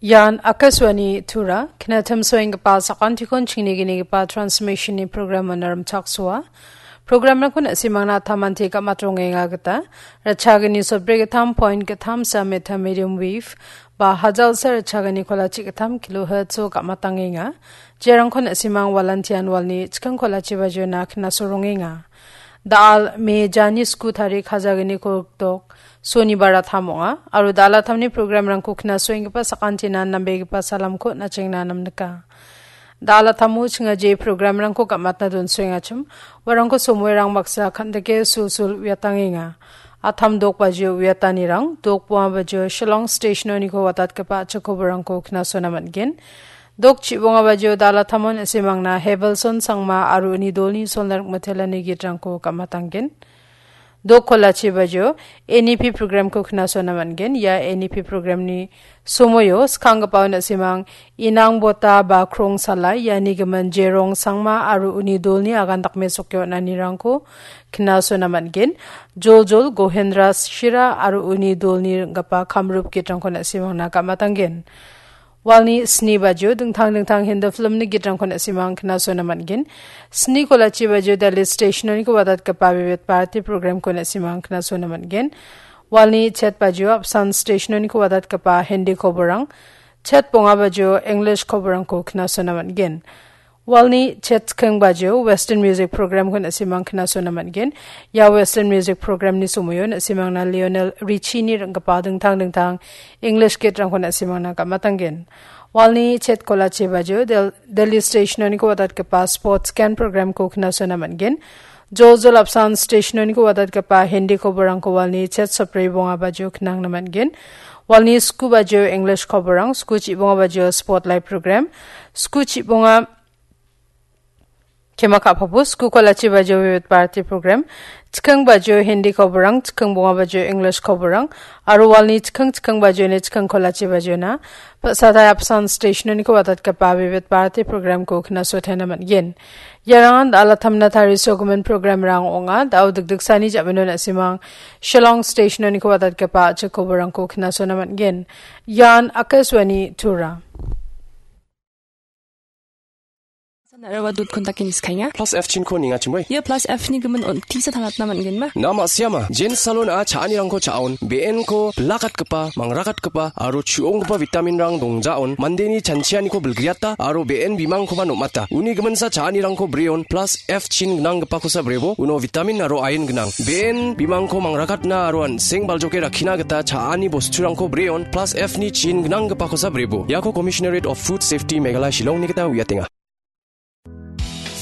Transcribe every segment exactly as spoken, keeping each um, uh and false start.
Ian Akashvani Tura, knatim soenggipa sakantikon chingnigipa transmissionni programon rimchaksoa. Programrangkon na·simangna tamanti gamatongenga gita, ratchagini sotbri gittam point gittam sa meter medium wave, ba hajalsa ratchagini kolachi gittam kilohertz-o gamatangenga. Jerangkon na·simang walantian walni chiking kolachi bajiona knasorongenga. Dal me jani sku tarik hajagini kolgdok, Sonibar atam ong·a, aro dal atamni programrangko knasoenggipa sakantinan nambegipa salamko nachengna namnika. Dal atamo chingaje programrangko gamatna donsoengachim, uarangko somoirang baksa kandike sulsul uiatangenga. Atam dok bajio uiatanirang, dok bonga bajio Shillong stationoniko watatgipa a·chik koborangko knasona man·gen. Dok chibonga bajio dal atamon na·simangna Hevelson Sangma aro uni dolni solna rikmitelani gitrangko gamatanggen. Dok kolachi bajio N E P programko knasona man·gen. Ia N E P programni somoio skanggipao na·simang Inang Bota ba Krong Salai, iani gimin Jerong Sangma aro uni dolni agan dakmesokio on·anirangko knasona man·gen. Joljol Gohendra Shira aro uni dolni ring·gipa kamrup gitrangko na·simangna gamatanggen. Walni sni bajio dingtang dingtang Hindi filmni gitrangko na·simang knasona man·gen. Sni kolachi bajio Delhi stationoniko watatgipa Vividh Bharati programko na·simang knasona man·gen. Walni chet bajio apsan stationoniko watatgipa Hindi koborang, chet bonga bajio English koborangko knasona man·gen. Walni chet chiking bajio Western Music Programko na·simang knasona man·gen. Ia Western Music Programni somoio na·simangna Lionel Richie-ni ring·gipa dingtang dingtang English gitrangko na·simangna gamatanggen. Walni chet kolachi bajio Del-, Delhi stationoniko watatgipa Sports Can Programko knasona man·gen. Joljol apsan stationoniko watatgipa Hindi koborangko walni chet sotbri bonga bajio knangna man·gen. Walni sku bajio English koborang, sku chibonga bajio Spotlight Program, sku chibonga Kema ka·papo, sku kolachi bajio Vividh Bharati program, chiking bajio Hindi koborang, chiking bonga bajio English koborang, aro walni chiking chiking bajioni chiking kolachi bajiona, pasatai apsan stationoniko watatgipa Vividh Bharati programko knasotena man·gen. Iarangan dal·a tamna tarisogimin programrang ong·a, dao dikdiksani ja·mino na·simang Shillong stationoniko watatgipa a·chik koborangko knasona man·gen. Ian Akashvani Tura. San araba dot com dake niskaenga. Plus F chinko nengachimoi. Ia plus F ni gimin on tisa tangatna man·genba? Na ma·siama, Jane Salon-a cha·anirangko cha·on, be·enko bilakatgipa, mangrakatgipa, aro chu·onggipa vitaminrang dongjaon, mandeni chanchianiko bilgriata, aro be·en bimangkoba nom·ata. Uni giminsa cha·anirangko breon, plus F chin gnanggipakosa brebo, uno vitamin aro iron gnang. Be·en bimangko mangrakatna aro an·seng baljoke rakkina gita cha·ani bosturangko breon, plus F ni chin gnanggipakosa brebo. Iako Commissionerate of Food Safety Meghalaya Shillong-ni gita uiatenga.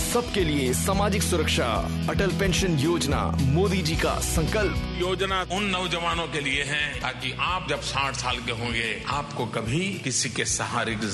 सबके लिए सामाजिक सुरक्षा, अटल पेंशन योजना, मोदी जी का संकल्प। योजना उन नौजवानों के लिए है, ताकि आप जब साठ साल के होंगे, आपको कभी किसी के सहारे की